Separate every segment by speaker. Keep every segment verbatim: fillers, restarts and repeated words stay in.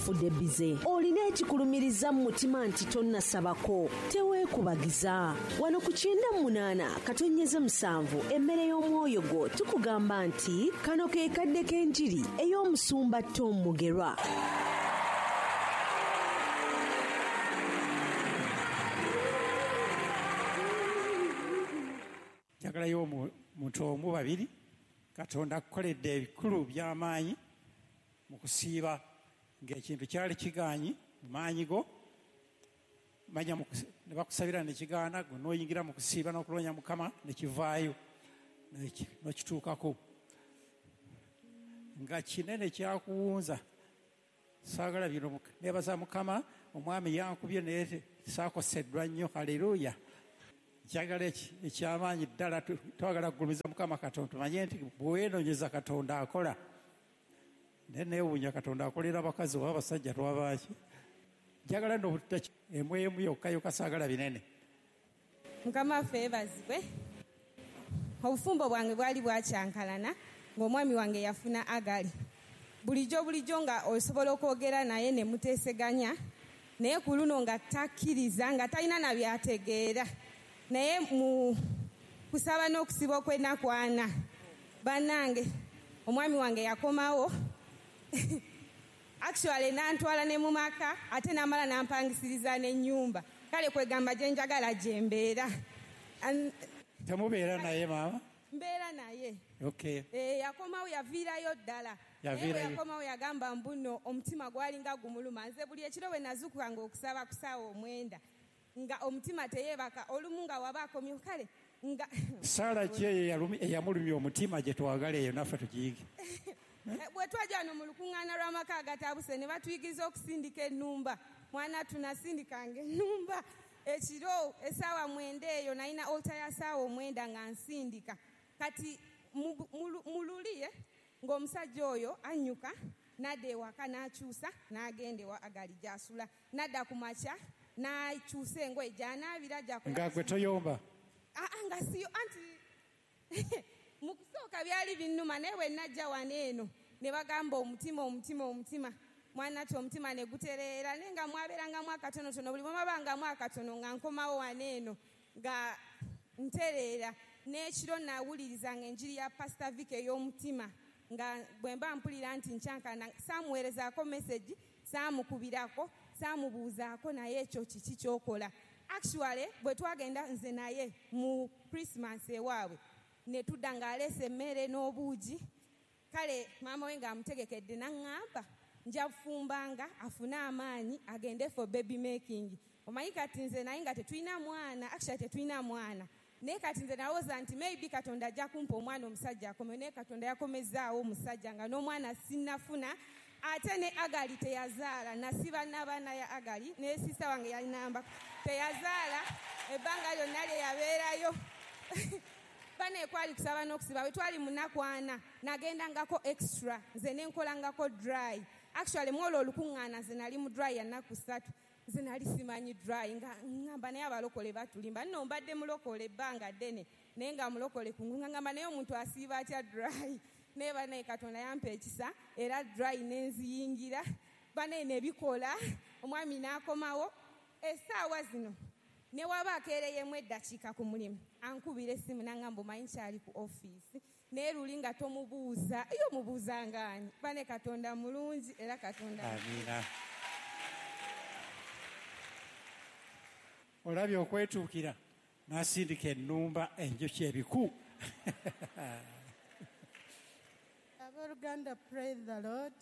Speaker 1: Okufudde bize, olina ekikulumiriza mu mutima nti tonnasabako, teweekubagiza. Wano ku kyenda mu munaana katonnyeze musanvu emmere y'omwoyo gwo tukugamba nti kano ke kadde k'enjiri ey'omusumba Tom Mugerwa.
Speaker 2: Njagalayo omuntu omu babiri. Katonda akukoledde ebikulu by'amaanyi mu kusiiba ng'ekintu kyali kigaanyi mu maanyi go, manya ne bakusabira ne kigaana, gwe n'oyingira mu kusiiba n'okuloonya Mukama ne kivaayo n'okituukako. Nga kinene kyakuwunza, saagala bino, neebaza Mukama, omwami yankubye naye saakoseddwa nnyo. Haleluya. Njagala ekyamaanyi ddala, twagala kugulumiza Mukama Katonda, tumanye nti bwe weenoonyeza Katonda akola. Naye neewuunya Katonda akolera abakazi oba abasajja twabaaki. Njagala nno obutta emu emu yokka yokka, saagala binene.
Speaker 3: Mukama waffe yeebazibwe. Obufumbo bwange bwali bwakyankalana ng'omwami wange yafuna Agali. Bulijjo bulijjo nga osobola okwogera naye ne muteeseganya, naye ku luno nga takkiriza, nga talina na byategeera. Naye mu kusaba n'okusiba okw'ennaku ana, bannange omwami wange yakomawo. Actually n'antwala ne mu maka, ate n'amala n'ampangisiriza n'ennyumba. Kale kwegamba gye njagala gye mbeera.
Speaker 2: Temubeera naye maama?
Speaker 3: Mbeera naye.
Speaker 2: Okay.
Speaker 3: Eh, yakomawo yaviirayo ddala.
Speaker 2: Yaviirayo.
Speaker 3: Yakomawo yagamba mbuno omutima gwalinga gumuluma. Nze buli ekiro bwe nazuukukanga okusaba ku ssaawa omwenda, nga omutima teyeebaka, olumu nga waba akomyewo kale nga
Speaker 2: Ssaala ki eyo eyamulumya omutima gye twagala eyo naffe tugiyige?
Speaker 3: Bwe twajja wano mu lukuŋŋaana lw'amaka agatabuse ne batuyigiriza okusindika ennumba. Mwana tunasindikanga ennumba ekiro essaawa mwenda eyo, nalina altar ya ssaawa omwenda nga nsindika. Kati mu luli ng'omusajja oyo annyuka n'adda ewaka n'akyusa n'agenda ewa Agali gy'asula, n'adda ku makya n'akyusa engoye gy'anaabira gy'akola.
Speaker 2: Nga gwe toyomba?
Speaker 3: Aa, nga siyo, anti mu kusooka byali binnuma, naye bwe najja wano eno ne bagamba omutima omutima omutima, mwana ti omutima ne gutereera, naye nga mwabeerangamu akatonotono, buli bwe mwabangamu akatono nga nkomawo wano eno nga ntereera. N'ekiro nawulirizanga enjiri ya Pastor Vic ey'omutima, nga bwe mba mpulira nti nkyankana, saamuweerezaako message, saamukubirako, saamubuuzaako naye ekyo kiki ky'okola. Actually bwe twagenda nze naye mu Christmas ewaabwe, ne tudda ng'aleese emmere n'obuugi. Kale maama we ng'amutegekedde n'aŋŋamba nja kufumbanga afune amaanyi agende for baby making. Omanyi kati nze naye nga tetulina mwana, actually tetulina mwana. Naye kati nze nalowooza nti maybe Katonda ajja kumpa omwana omusajja akome, naye Katonda yakomezzaawo omusajja nga n'omwana sinnafuna. Ate ne Agali teyazaala, nasiba n'abaana ya Agali, ne sisita wange yalinamba teyazaala ebbanga lyonna lye yabeerayo. Bane kwali kusaba n'okusiba, bwe twali mu nnaku ana nagendangako extra, nze ne nkolangako dry. Actually mu olwo olukuŋŋaana nze nali mu dry ya nnaku ssatu. Nze nali simanyi dry, nga ŋŋamba naye abalokole batulimba. Nno mbadde mulokole ebbanga ddene, naye nga mulokole kungulu, nga ŋŋamba naye omuntu asiiba atya dry? Naye banaye Katonda yampa ekisa, era dry ne nziyingira, banaye ne bikola, omwami n'akomawo. Essaawa zino ne waba akeereyemu eddakiika ku mulimu, ankubira essimu n'aŋŋamba omanyi nkyali ku ofiisi, naye luli nga tomubuuza, ye omubuuza ng'ani? Bane Katonda mulungi era Katonda.
Speaker 2: Amiina. Olabye okwetuukira n'asindika ennumba enjuki ebiku.
Speaker 4: Abooluganda, praise the Lord.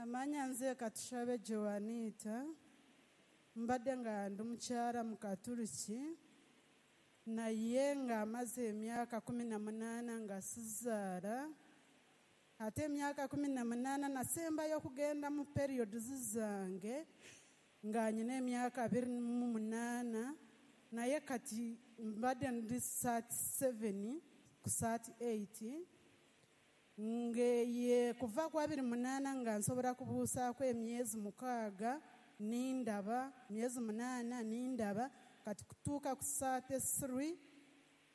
Speaker 4: Amanya nze Katushabe Joanita, mbadde nga ndi mukyala mu Katuliki, naye ng'amaze emyaka kumi na munaana nga sizaala. Ate emyaka kumi na munaana nasembayo okugenda mu periods zange nga nyina emyaka abiri mu munaana, naye kati mbadde ndi thirty seven ku thirty eight, ngeye kuva ku abiri munaana nga nsobola kubuusaako emyezi mukaaga nindaba, myezi munaana nindaba, kati kutuuka ku thirty three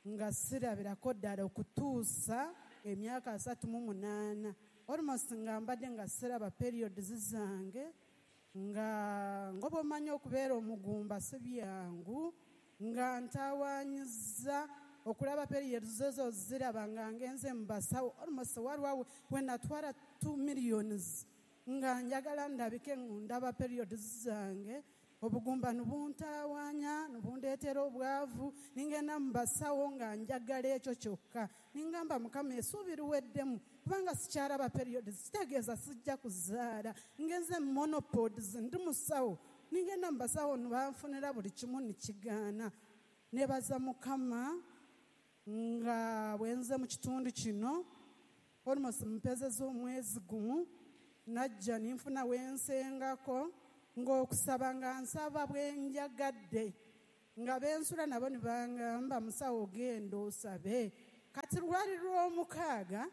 Speaker 4: nga sirabirako ddala okutuusa emyaka asatu mu munaana. Almost nga mbadde nga siraba periods zange, nga nga bw'omanyi okubeera omugumba si byangu, nga ntawaanyiza okulaba periods zo ziraba nga ngenze mu basawo. Almost waliwo we natwala two millions nga njagala ndabike ndaba periods zange. Obugumba nubuntawaanya nubundeetera obwavu, ningenda mu basawo nga njagala ekyo kyokka. Ningamba Mukama essuubi liweddemu kubanga sikyalaba periods, kitegeeza sijja kuzaala. Ngenze monopods, ndi musawo, ningenda mu basawo ne banfunira buli kimu nekigaana. Nebaza Mukama nga bwenze mu kitundu kino almost mpezeza omwezi gumu, najja ninfuna wensengako ng'okusaba nga nsaba bwe njagadde, nga bensula nabo ne bangamba musawo genda osabe. Kati lwali lw'omukaaga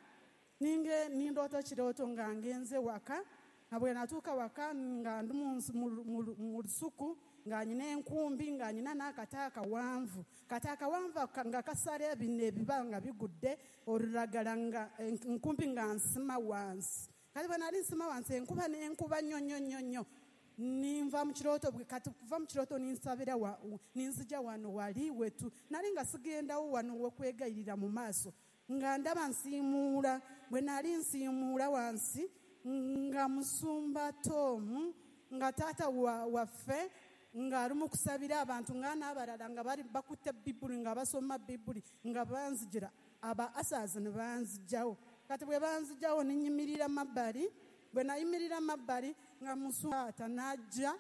Speaker 4: ninge nindoota kirooto nga ngenze waka, nga bwe natuuka waka nga ndi mu lusuku nga nyina enkumbi nga nyina n'akati akawanvu, kati akawanvu nga kasala ebino ebiba nga bigudde olulagala, nga enkumbi nga nsima wansi. Kati bwe nali nsima wansi enkuba n'enkuba nnyo nnyo nnyo nnyo, ninva mu kirooto. Kati kuva mu kirooto ninsabira ninzija wano wali wetu nali nga sigendawo wano wekwegayirira mu maaso, nga ndaba nsiimuula. Bwe nali nsiimuula wansi nga musumba Tomu nga taata waffe nga ali mu kusabira abantu, nga n'abalala nga bali bakutte Bibuli nga basoma Bibuli, nga banzigira aba asaazi ne banzijjawo. Kati bwe banzijjawo ne nnyimirira mabbali, bwe nayimirira mabbali nga musumba n'ajja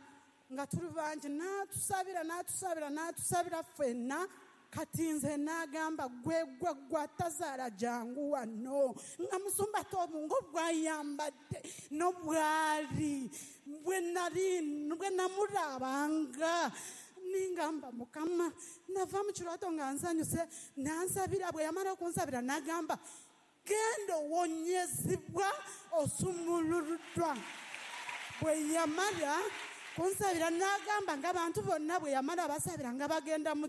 Speaker 4: nga tuli bangi n'atusabira n'atusabira n'atusabira ffenna. Kati nze n'agamba gwe gwe gwe atazaala jangu wano, nga musumba Tomu ng'obwayambadde n'obwali bwe nali bwe namulabanga, ningamba Mukama nava mu kirooto nga nsanyuse. Nansabira, bwe yamala okunsabira n'agamba genda owonyezebwa osumuluddwa. Bwe yamala kunsabira n'agamba ng'abantu bonna bwe yamala basabira nga bagenda mu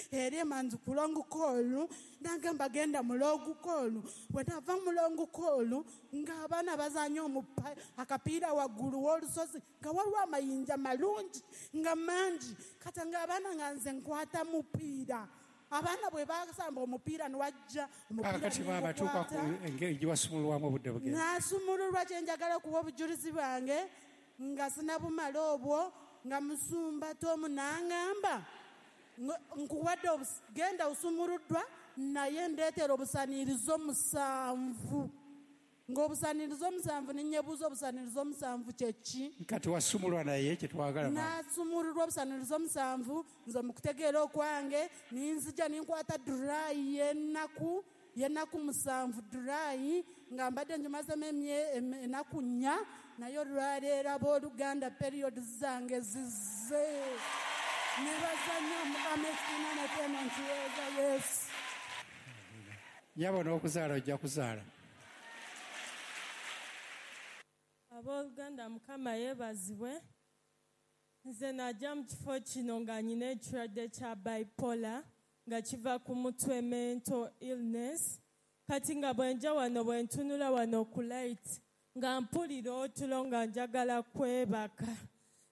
Speaker 4: eri emanzi ku long call, n'agamba genda mu long call. Bwe nava mu long call ng'abaana bazanya akapiira waggulu w'olusozi nga waliwo amayinja malungi nga mangi, kati ng'abaana nga nze nkwata mupiira. Abaana bwe basamba omupiira ne wajja
Speaker 2: Kaakati maama tuuka ku engeri gye wasumululwamu obudde bugenda.
Speaker 4: Nasumululwa kye njagala okuwa obujulizi bwange nga sinabumala obwo, nga musumba Tomu n'angamba nkuwadde genda osumuluddwa naye ndeetera obusanirizo musanvu. Ng'obusanirizo musanvu ninyebuuza obusanirizo musanvu kye ki?
Speaker 2: Kati wasumulwa naye kye twagala.
Speaker 4: Nasumululwa obusanirizo musanvu nze mu kutegeera okwange ninzija ninkwata durayi y'ennaku y'ennaku musanvu, durayi nga mbadde ngimazemu ennaku nnya, naye olwaleero abooluganda periods zange zizze. Nebaza nnyo Mukama ekitiina n'ettendo nkiweeza Yesu.
Speaker 2: Nnyabo n'okuzaala ojja kuzaala.
Speaker 5: Abooluganda Mukama yeebazibwe. Nze najja mu kifo kino nga nnyina ekirwadde kya bipolar nga kiva ku mutwe, mental illness. Kati nga bwe nja wano bwe ntunula wano ku light nga mpulira otulo nga njagala kwebaka.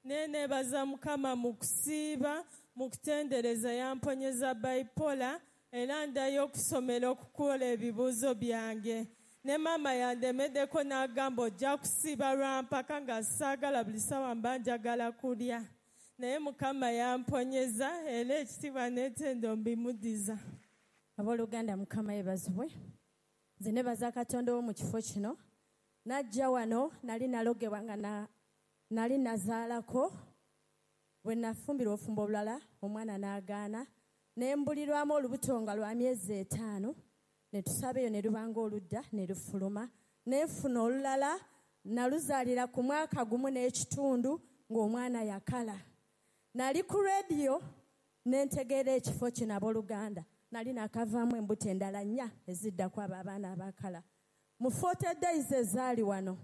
Speaker 5: Naye neebaza Mukama mu kusiiba, mu kutendereza yamponyeza bipolar, era ndayo okusomera okukola ebibuuzo byange. Ne maama yandemeddeko n'agamba ojja kusiiba lwampaka nga saagala buli ssaawa mba njagala kulya. Naye Mukama yamponyeza era ekitiibwa n'ettendo mbimudiza.
Speaker 6: Abooluganda Mukama yeebazibwe. Nze neebaza Katonda ow'omu kifo kino. Najja wano nali nalogebwa nga na nali nazaalako. Bwe nafumbirwa obufumbo obulala omwana n'agaana, ne mbulirwamu olubuto nga lwa myezi etaano, ne tusaba eyo ne lubanga oludda ne lufuluma. Ne nfuna olulala naluzaalira ku mwaka gumu n'ekitundu ng'omwana yakala. Nali ku rediyo ne ntegeera ekifo kino abooluganda. Nali nakavaamu embuto endala nnya eziddako abo abaana abakala. Mu forty days ezaali wano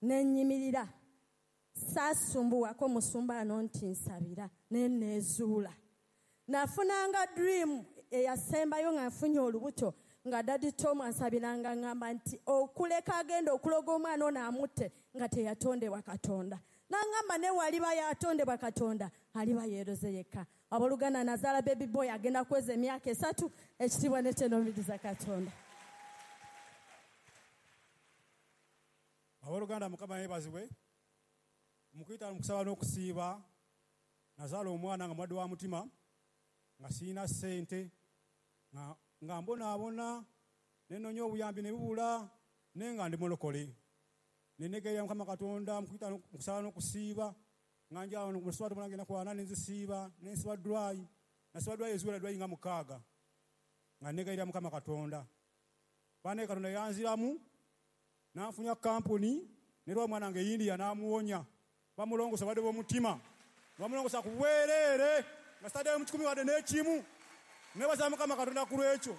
Speaker 6: ne nnyimirira, saasumbuwako musumba ano nti nsabira, ne neezuula. Nafunanga dream eyasembayo nga nfunye olubuto Nga Daddy Tom ansabiranga ngamba nti okuleka agenda okuloga omwana ono amutte nga teyatondebwa Katonda. Nangamba ne waliba yatondebwa Katonda aliba yeeroze yekka. Abooluganda, nazaala baby boy agenda kweza emyaka esatu. Ekitiibwa n'ekyenoomiriza Katonda.
Speaker 7: Abooluganda, Mukama yeebazibwe. Mukuyita mu kusaba n'okusiiba, nazaala omwana nga mulwadde wa mutima, nga sirina ssente, nga, nga mbonaabona, ne nnoonya obuyambi ne bubula, naye nga ndi mulokole. Ne neegerera Mukama Katonda mu kuyita mu kusaba n'okusiiba, nga nja mu luswatu mulange ennaku ana ne nzisiiba, ne nsiba dry, nasiba dry eziwera dry nga mukaaga, nga neegerera Mukama Katonda. Bannaye Katonda yanziramu, n'anfunya kampuni, ne lwa omwana wange India n'amuwonya. Bamulongosa badde b'omutima, bamulongosa ku bwereere, nga sitaddeyo mu kikumi wadde n'ekimu. Neebaza Mukama Katonda ku lw'ekyo.